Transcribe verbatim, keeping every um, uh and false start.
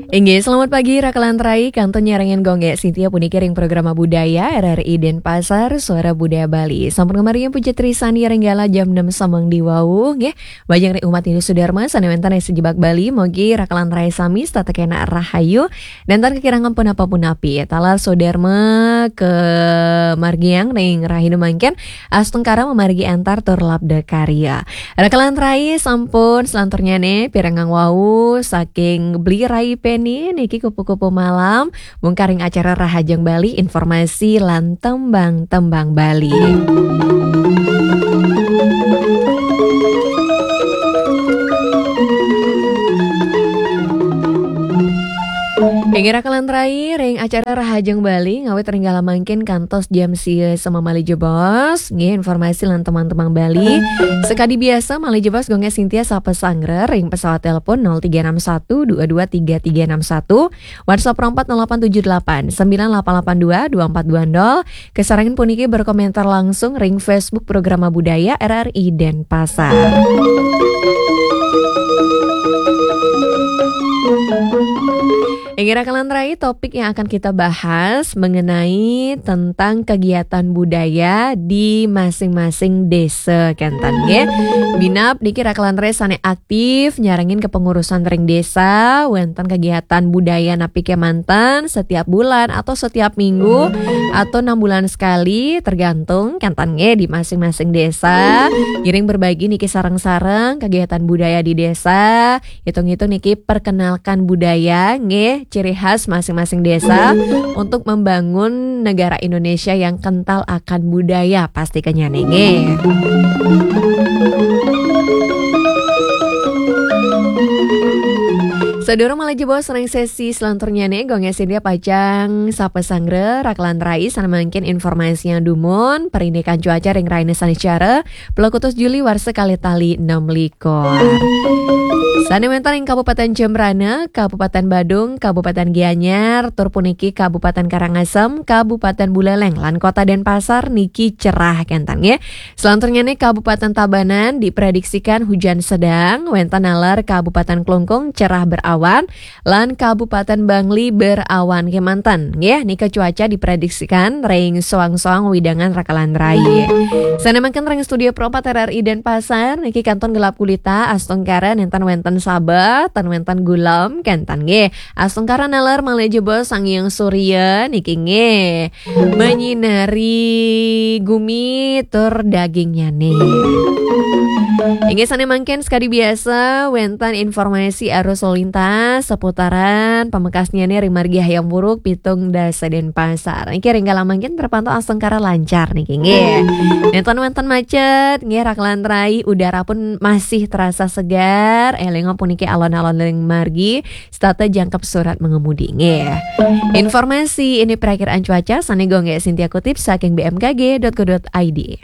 Inggih, selamat pagi, Raka lan Rai. Kantun nyarengin Gung Gé Sintia puniki ring Programa Budaya R R I Denpasar, Suara Budaya Bali. Sampun ngamargiang puja trisandi ring galah jam enam samangdi wau, nggih. Majeng ring umat Hindu Sudarma sané wénten ring sajebag Bali, mugi Raka lan Rai sami setata kénak rahayu, nénten kakirangan punapa-punapi. Taler Sudarma kamargiang ring rahina mangkin, astungkara mamargi antar tur labda karya. Raka lan Rai, sampun salanturnyané pirengang wau saking Bli Rai Peni niki kupu-kupu malam, mungkaring acara Rahajeng Bali, informasi lan tembang-tembang Bali. Inggih, Raka lan Rai, ring acara Rahajeng Bali ngawit ring galah mangkin kantos jam sia sema malih jebos. Nggih, informasi lan tembang-tembang Bali. Sakadi biasa, malih jebos Gung Gé Sintia sapa sanggra ring pesawat telepon nol tiga enam satu dua dua tiga tiga enam satu, WhatsApp ring empat nol delapan tujuh delapan sembilan delapan delapan dua dua empat dua nol. Kasarengin puniki berkomentar langsung ring Facebook Programa Budaya R R I Denpasar. Inggih, Raka lan Rai, topik yang akan kita bahas mengenai tentang kegiatan budaya di masing-masing desa, kénten nggih. Minab niki Raka lan Rai sané aktif nyarengin kepengurusan ring desa, wénten kegiatan budaya napi kémanten setiap bulan atau setiap minggu atau enam bulan sekali, tergantung kénten nggih di masing-masing desa. Ngiring berbagi niki sareng-sareng kegiatan budaya di desa, hitung-hitung niki perkenalkan budaya, nggih, ciri khas masing-masing desa untuk membangun negara Indonesia yang kental akan budaya, pasti kenyané, nggih. Sadurung malih jebos ring sesi salanturnyané, Gung Gé Sintia pacang sapa sanggra, Raka lan Rai, sané mangkin informasi yang dumun, parindikan cuaca ring rahina sané cara, puluh kutus Juli warsa kalih tali enam likur. Sané wénten ing Kabupaten Jembrana, Kabupaten Badung, Kabupaten Gianyar, tur puniki Kabupaten Karangasem, Kabupaten Buleleng, lan Kota Denpasar niki cerah kénten nggih. Salanturnyané Kabupaten Tabanan diprediksikan hujan sedang, wénten naler Kabupaten Klungkung cerah berawan, lan Kabupaten Bangli berawan kémanten. Nggih, nika cuaca diprediksikan ring soang-soang wewidangan Raka lan Rai. Sané mangkin ring studio Pro empat R R I Denpasar niki kantun gelap gulita, astungkara nénten wénten sabeh, tan wénten gulem, kénten nggih. Astungkara naler malih jebos Sang Hyang Surya niki nggih menyinari gumi tur dagingnyané. Inggih, sané mangkin sakadi biasa wénten informasi arus lalu lintas seputaran pamekasnyané ring margi Hayam Wuruk pitung dasa Denpasar. Niki ring galah mangkin terpantau astungkara lancar niki nggih. Nénten wénten macet nggih, Raka lan Rai, udara pun masih terasa segar. Élingang puniki alon-alon ring margi, setata jangkep surat mengemudi nggih. Informasi ini perakiraan cuaca sané Gung Gé Sintia kutip saking B M K G dot co dot I D.